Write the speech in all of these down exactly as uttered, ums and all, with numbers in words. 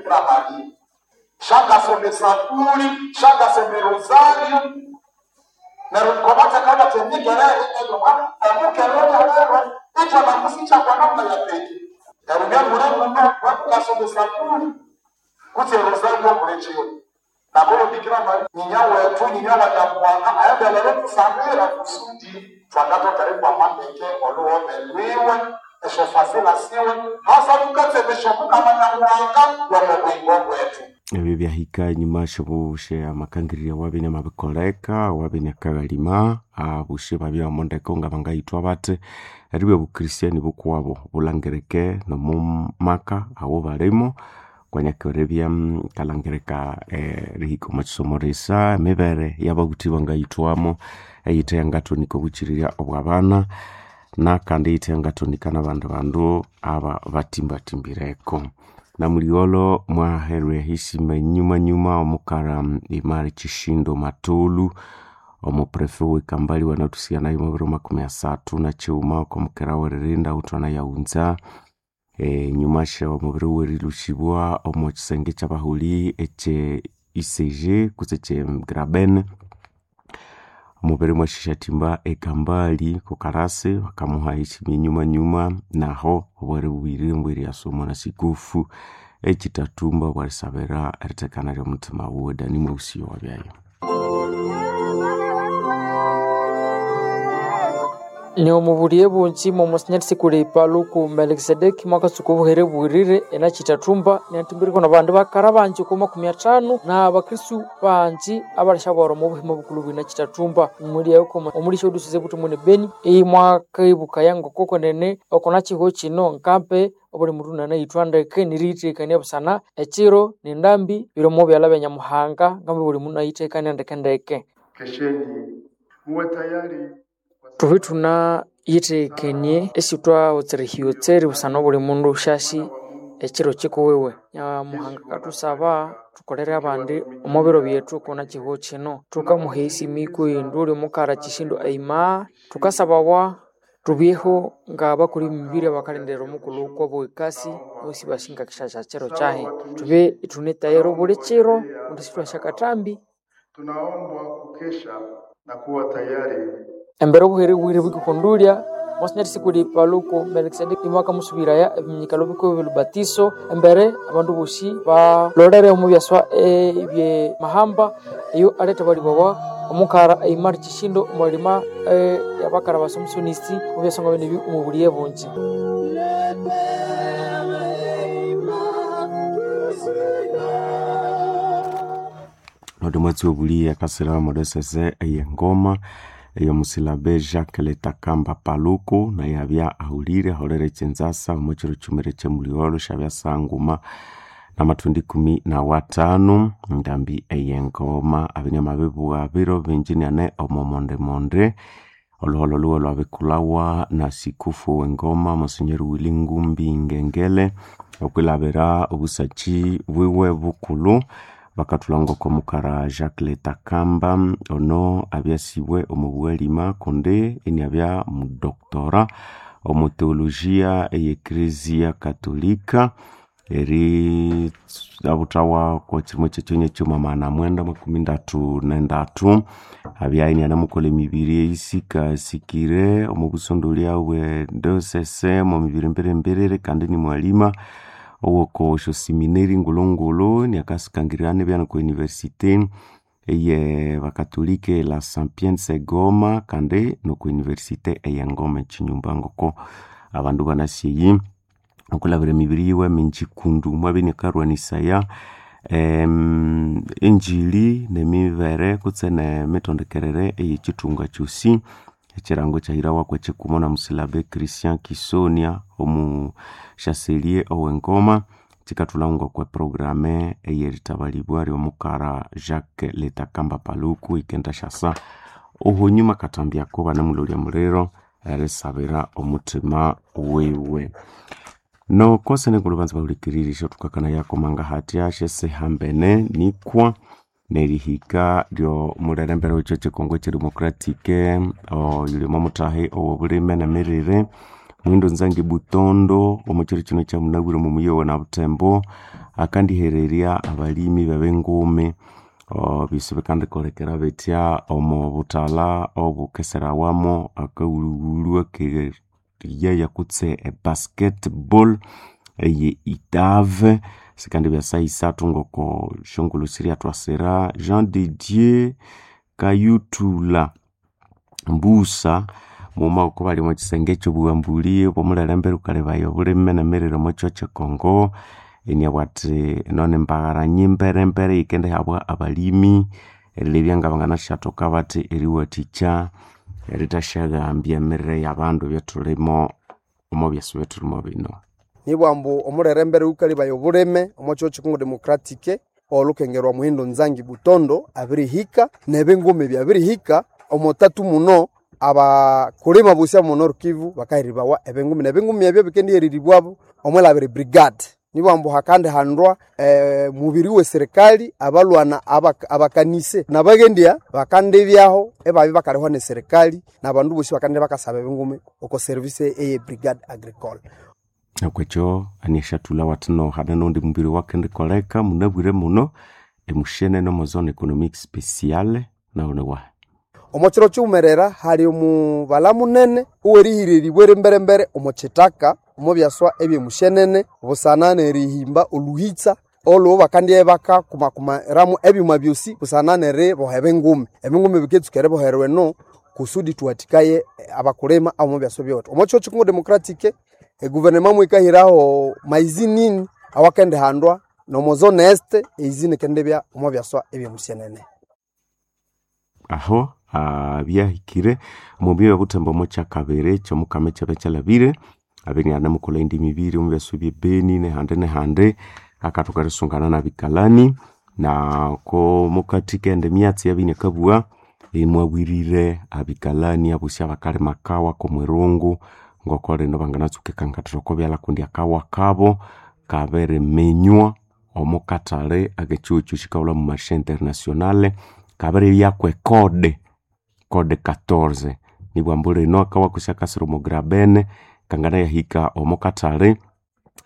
Bikira Maria shangasoma esapuri shangasoma erosario neryo kobathekana temikerere omukere lyalero ithwanamusikya kwa namna ya pekee neryo byamure muno wakukasoma esapuri kutse erosario mulekiro nabolo Bikira Maria nyinya wethu nyinya wa Nyamuhanga aendelere tusabira kusudi twangatokere kwamandeke oluhome lwiwe eshofasila siwe hasa tukatsemesha Mukama Nyamuhanga wamubwingo bwetu. Ebyo byahika enyuma syobushe amakangirya wabine mabikoleka wabine akaghalima abushe babya omondeko nga bangayithwa bathi eribya obukristiani bukuwabo bulangirike nomumaka awo balimo kwanyakira kalangirika erihika omwa kisomo risa emibere yababuthi bangayithwamo eyithe yangathonika obuchirirya obwabana nakandi eyithe yangathonika nabandi bandu aba batimbatimbireku. Namuligholo mwaherwa ehisima enyuma nyuma omukara Imari Chishindo Matulu omuprefe wekambali wanathusighanayo omwa makumi asathu nakighuma okwamukera weririnda ghuthwana yaghunza enyuma sya omubiri werilhusibwa omo kisenge kyabahuli ekye I C G kutse ekye Graben omubiri mwasisyathimba ekambali kukarasi bakamuha eheshima enyuma nyuma naho obwere bubirire mbweriyasomwa na sikufu ekitathumba bwarisabira erithekana lyomuthima wuwe Dani Mweusi wabyayo. Ni omubuliye bungi momusinyari sikuli Paluku Melkisedeki mwakatsuka obuhere bwirire enakitathumba niathimbiriko nabandu bakara bangi okwa makumi athanu na abakristu bangi abalishabwara omu buhima bukulhu bwina kitathumba omuliyayo omulisha odusize buthumbu ne Beni eyi mwakibukaya ngokokwenene okona kihugho kino nkampe obuli mundu nanayithwa ndeke niriyithekania busana ekiro nendambi biri omu byalha bya Nyamuhanga ngambe buli mundu nayithekania ndekendeke. Kesheni muwe tayari Thubye ithunayithekenie esithwawotsera ehiyotseri busana obuli mundu syasi ekiro kikuwiwe. Nyamuhanga akathusaba thukolere abandi omo biro byethu okuna kihugho kino. Thukamuha esimi kwindu uli omukara Chishindo Aima thukasabawa thubyeho ngabakoli b'emibiri abakalindirira omukulhu kw'obwekasi bosi basinga kishasha kiro kyahi. Thubye ithune tayari obuli kiro kundi sithwasya kathambi. Tunaombwa kukesha na kuwa tayari. Embere obuhere bwire bukikundulya mwasinyari sikuli Paluku Melkisedeki imwakamusubiraya ebiminyikalo bikubi ebyolubatiso embere abandu bosi balolere omu byaswa ebye mahamba eyo aletha balibawa omukara Aimari Chishindo omwalima yabakara basomusonisi omu byaswa nga bino omu buliye bungi. Nodi mwatsi obuliye akasira modesese eyengoma eyomusilabe Jacques Letakamba Paluku naye abya ahulire aholere ekyenzasa omo kiro kyumire kyemuligholo syabya sanguma namathundi ikumi na wathanu ndambi eyengoma abinyama mabibugha biro bingi niane omo mondemonde olhuholho lhuwe lwabikulhawa na sikufu wengoma Monsignor Willy Ngumbi Ngengele okwilabira obusaki bwiwe bukulhu bakathulha ngoko mukara Jacques Letakamba ono abyasibwe omu bwalima kundi iniabya mudoctora omu teologia eye Ecclesia Katolika eri abuthawa kwa kirimo kyekyonyi ekyuma magana mwenda makumi ndathu nendathu abya inianamukolha emibiri eyisikasikire omu busondolya bwe diocese omu mibiri mbirimbiriri kandi nimwalima owoko syoseminary ngulhungulhu niakasikangirira nibya noko university eye bakatolika la Sapienza Goma kandi noko university eye Ngoma ekinyumba ngoko abandu banasi eyi okulabira emibiri yiwe mingi kundu mwabya iniakarwanisaya em, enjili nemibere kutse nemitondekerere eyekithunga kyosi ekirango kyahirawa kwekikumo na musilabe Christian Kisonia omu chancelier owengoma kikathulha ngokwe programe eyerithabalibwa lyomukara Jacques Letakamba Paluku ikenda syasa ohunyuma kathambiyako banamulolya muliro erisabira omuthima wiwe. Noko senengulu banza bahulikiririsya thukakana yakomanga hatya syesihambene nikwa nerihika lyomulherembere wekyo kyekongo ekyedemocratic oyuli omwamuthahi owobulime nemirire Muhindo Nzangi Butondo omo kiro kino kya munabwire omo muyi owe na Butembo akandihererya abalimi b'ebingumi byosi bikandikolekera bitya omo buthalha obukeserawamu akawulhuwulhu akeriyaya kutse ebasketball eye itave sikandibya saha isathu ngoko syongulhu siryathwasira. Jean de Dieu Kayuthulha Mbusa mughuma ngoko bali omo kisenge ekyobughambuli obwomulherembe lhukalebaya obulime nemirire omo kyiro kyekongo iniabugha athi eno nimbaghara nyimberembere eyikendihabwa abalimi erilebya ngabanganasyathoka bathi eriwathikya erithasyahambya emirire yabandu ebyathulimo omo byasi ebyathulimo bino. Nibwambu omulherembere ghukalebaya obulime omo kihugho kye Congo Democratic olhukengerwa Muhindo Nzangi Butondo abirihika nebingumi byabirihika omo tatu muno abakulima bosi abomo Nord Kivu bakaheribawa ebingumi nebingumi ebyo bikendiheriribwabo omwilhabira brigade. Nibwambu hakandihandwa eh, mubiri we serikali abalwana abak, abakanise nabaghendya bakandibyaho ebabya bakalihwa ne serikali nabandu bosi bakandibya bakasaba ebingumi oko service eye brigade agricole. Okwekyo aniasyathulha wathi no hane nondi mubiri owakendikoleka munabwire muno emushenene omo zone economique speciale nawu niwahi. Omo kiro kiwumerera hali omubala munene owerihiriribwa erimberembere omo kithaka omo byaswa ebyemushenene busana nerihimba oluhitsa olwo bakandibya bakakumakumiramu ebyuma byosi busana neriboha ebingumi. Ebingumi biketsuka eriboherwa eno kusudi thuwathikaye abakulima abomo byaswa byowethu. Omo kihugho kye Congo Democratic eguvernema mwikahiraho maizi nini awakendihandwa nomo zone este eizini ikendibya omo byaswa ebyemushenene. Aho byahikire omu byoya obuthembo omo kyakabiri kyomukama ekyabya kyalhabire abere inianamukolha indi mibiri omu byaswa ebyebeni nehandi nehandi akathoka erisungana nabikalani nako mukathi kende emyatsi eyabya inakabugha imwabwirire abikalani abosi abakalima akawa komwirungu ngoko lino banganatsuka erikangathira oko byalha kundi akawa kabo kabiriminywa omo kathali akekihugho ekyo kikahulha mu marché international kabiribyaku ecode code quatorze nibwambu lino akawa kosi akasira omo grabene kanganayahika omo kathali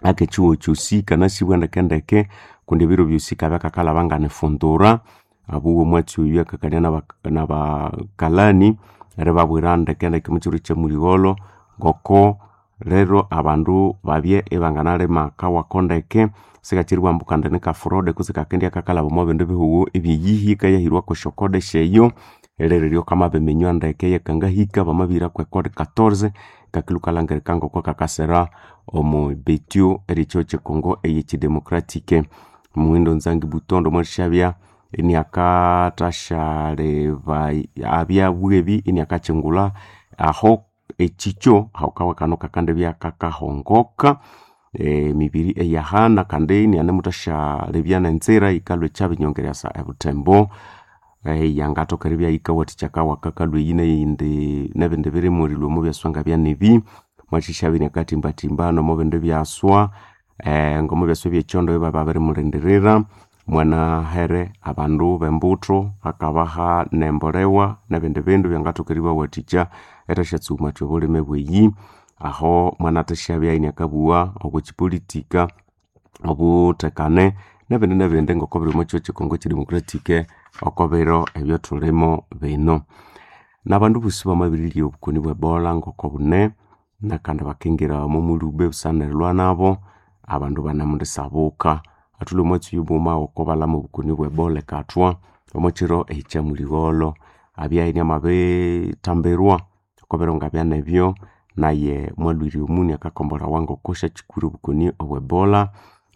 akekihugho kyosi kanasibwa ndekendeke kundi ebiro byosi kabya kakalhaba nganifundura abuwe omwatsi oyu akakania nabakalani eribabwira ndekendeke omukiro kyamuligholho ngoko lero abandu babye ibanganalima akawako ndeke sikakyiribwambu kandi nikafurode kutse kakendibya kakalhaba omo bindi bihugho ebyeyihi ikayahirwako esyokode syeyo lero kamabiminywa ndeke yekangahika bamabihirako ecode quatorze kakilhwa ikalhangirika ngoko kakasira omo betyo eryekihugho kyekongo eyekyidemocratic. Muhindo Nzangi Butondo mwathasyabya iniakathasyaleba abyabugha ebi iniakakyingulha aho ekikyo aho kawa kano kakandibya kakahongoka emibiri eyahana kandi inianemuthasyalebya nenzira yikalhwa ikyabinyongererya ebuthembo yangathoka eribya yikawathikya akawa kakalhwa eyi neyindi nebindi birimwa erilhwa omo byaswa ngabyanebi mwathasyabya iniakathimbathimba nomo bindi byaswa ngomo byaswa ebyekyondo ibababirimulindirira mwanahere abandu bembutho akabaha nembolewa nebindi bindu byangathoka eribawathikya erithasyatsumathya obulime bweyi aho mwanathasyabya iniakabugha okwa kyipolitika obuthekane nebindi nebindi ngoko biri omo kihugho kyekongo ekyidemocratic oko biro ebyathulimo bino. Nabandu bosi bamabirirya obukoni bwe Ebola ngoko bune nakandi bakingira omo mulhube busana nerilhwa nabo abandu banemundisabuka athulhwe omwatsi oyu mughuma oko balhama obukoni bwe Ebola ekathwa omo kiro ekyamuligholho abya iniamabithambirwa oko biro ngabyanebyo naye mwalhwire omuni akakombolhawa ngoko syakyikwire obukoni obwe Ebola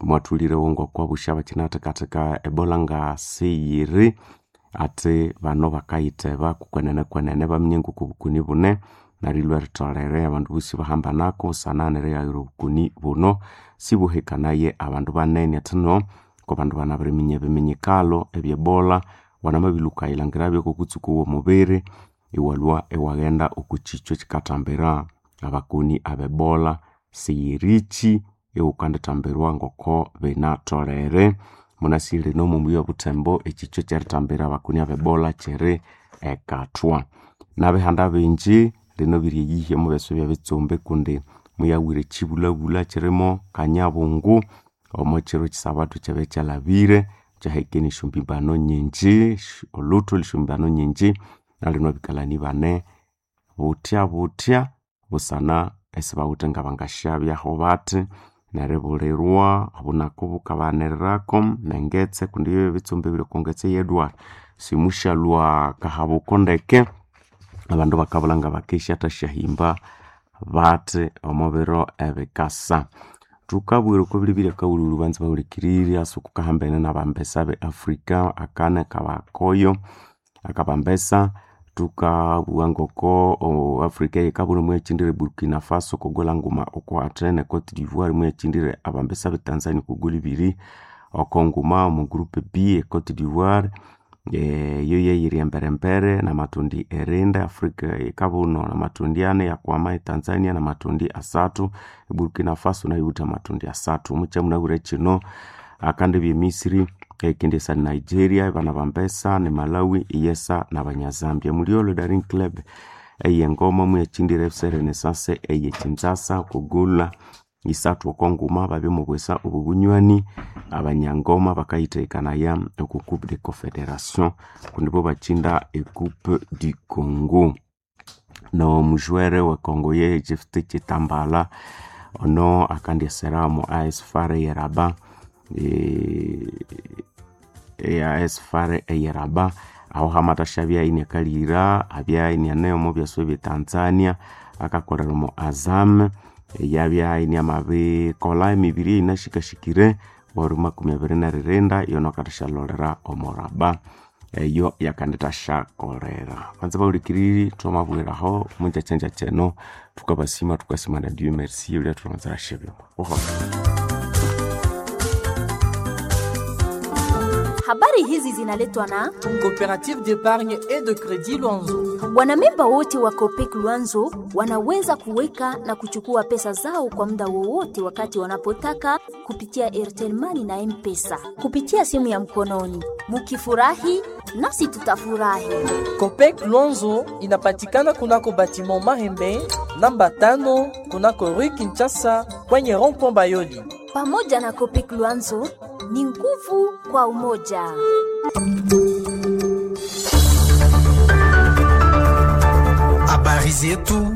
mwathulirewo ngoko abosi abakyinathekatheka Ebola ngasiyiri athi bano bakayitheba kwenene kwenene baminya ngoko obukoni bune nerilhwa eritholere abandu bosi bahambanako busana nerighaghira obukoni buno sibuhekanaye abandu banene athino kwabandu banabiriminya ebiminyikalo ebye Ebola wanamabilhuka erilhangirabyo kwokutsuku oghomubiri iwalhwa iwaghenda okwa kyikyo ekyikathambira abakoni abe Ebola siyirikyi ighukandithambirwa ngoko binatholere. Munasi lino omubuya obuthembo ekyikyo ekyerithambira abakoni abe Ebola kyiri ekathwa. Nabihanda bingi lino biri eyihya omu byaswa ebyebitsumbi kundi muyawire chibulabula chirimo kanyabungu omo chiro chisabatu chabe kyalabire kyahekene esyombibano nyingi oluthu lw'esyombibano nyingi nalino abikalani bane buthya buthya busana esibawithe ngabangasyabyaho bathi neribulirwa obunaku bukabanirako nengetse kundi bye bitsumbi ebiri oko ngetse yedwala simushalwa kahabuko ndeke abandu bakabulha ngabakesya thasyahimba bathi omo biro ebikasa. Thukabwira oko bilibili akawululu banza bahulikirire ase okukahambene nabambesa be Africa akane kabakoyo akabambesa thukabugha ngoko o Africa eyikabulha muyakyindire Burkina Faso okogolha nguma oko Athene Cote d'Ivoire muyakyindire abambesa be Tanzania okogolha ibiri oko nguma omu group B e Cote d'Ivoire eyo yeyiri emberembere namatundi erinda Africa yikabuno namatundi ani yakwama e Tanzania namatundi asathu Burkina Faso nayo yiwithe amatundi asathu mukyamunabwire kino akandi bye Misri ekindi esa Nigeria bana bambesa ne Malawi iyesa nabanyazambia muliolo Daring Club eyengoma muyakyindire F C Renaissance eye Kinshasa okugula isathu oko nguma babya mubwesa obu bunywani abanyangoma bakayithekakanaya oku Coupe de Confederation kundi bo bakyinda e Coupe du Congo nomujwere we Congo ye Jefte Chitambala ono akandyesera omu A S F A R eyeraba e A S F A R eyeraba aho hamathashabya iniakalira abya iniane omu byaswa ebye Tanzania akakolera omu Azam yabya iniamabikolha emibiri eyinashikashikire wari makumi abiri neririnda yono akathasyalolera omuraba eyo yakandithasyakolera banza bahulikiriri thwamabwiraho munjakyanjakya eno thukabasima thukasima na Dieu merci ulya thulhanzira syebyuma buholho. Habari hizi zinaletwa na Coopérative d'épargne et de crédit Luanzo. Wanamemba wote wa Copec Luanzo wanaweza kuweka na kuchukua pesa zao kwa muda wowote wakati wanapotaka kupitia Airtel Money na M-Pesa kupitia simu ya mkononi. Mukifurahi nasi tutafurahi. Copec Luanzo inapatikana kunako batiment Mahembe namba tano kunako Rue Kinshasa kwenye rond-point Bayoli. Pamoja na Copec Luanzo ni nguvu kwa umoja. Habari zetu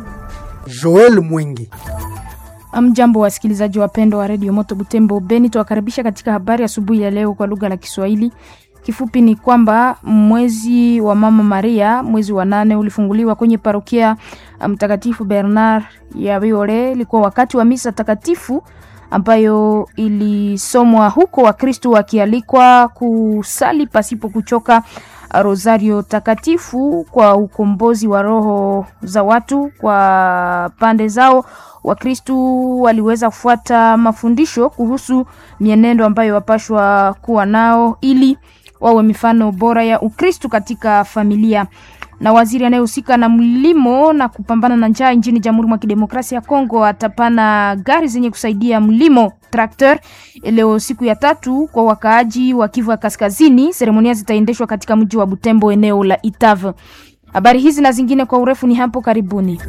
Joel Mwingi. Amjambo, wasikilizaji wapendwa wa redio Moto Butembo Beni, tuwakaribisha katika habari asubuhi ya leo kwa lugha la Kiswahili. Kifupi ni kwamba mwezi wa Mama Maria, mwezi wa nane, ulifunguliwa kwenye parokia Mtakatifu Bernard ya Biore. Ilikuwa wakati wa misa takatifu ambayo ilisomwa huko, Wakristo wakialikwa kusali pasipo kuchoka rosario takatifu kwa ukombozi wa roho za watu. Kwa pande zao, Wakristu waliweza kufuata mafundisho kuhusu mienendo ambayo wapashwa kuwa nao ili wawe mifano bora ya Ukristu katika familia. Na waziri anayehusika na mlimo na kupambana na njaa nchini Jamhuri mwa Kidemokrasia ya Kongo atapana gari zenye kusaidia mlimo tractor leo siku ya tatu kwa wakaaji wa Kivu ya Kaskazini. Seremonia zitaendeshwa katika mji wa Butembo, eneo la Itave. Habari hizi na zingine kwa urefu ni hapo karibuni.